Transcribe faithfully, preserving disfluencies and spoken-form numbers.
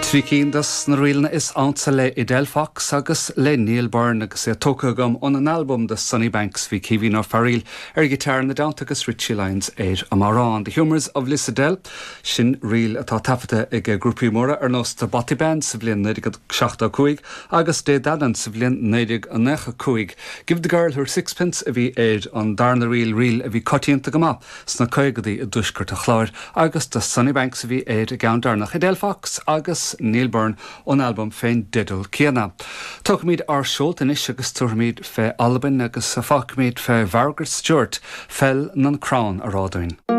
Trí cinn dos na ríleanna is ansa le Edel Fox agus le Neil Byrne agus é tógtha agam ón albam The Sunny Banks bhí Caoimhín Ó Fearghaíl ar ghiotár ina dteannta agus Richie Lyons ar an amhrán. The Humours of Lissadell sin ríl atá taifeadta ag grúpaí móra ar nós The Bothy Band sa bhliain naoi déag seachtó cúig agus Dé Danann sa bhliain naoi déag nócha cúig. Give the Girl Her Sixpence a bhí ar an darna ríl ríl a bhí coitianta go maith sna caogadaí i dtuaisceart an Chláir agus The Sunny Banks a bhí ar an gceann deireanach Edel Fox agus Neil Byrne ón albam fén dteideal céanna. Tógfaimid ár seolta anois agus tabharfaimid fé Albain agus fágfaimid fé Mhargaret Stewart Fell nan Crann a rá dúinn.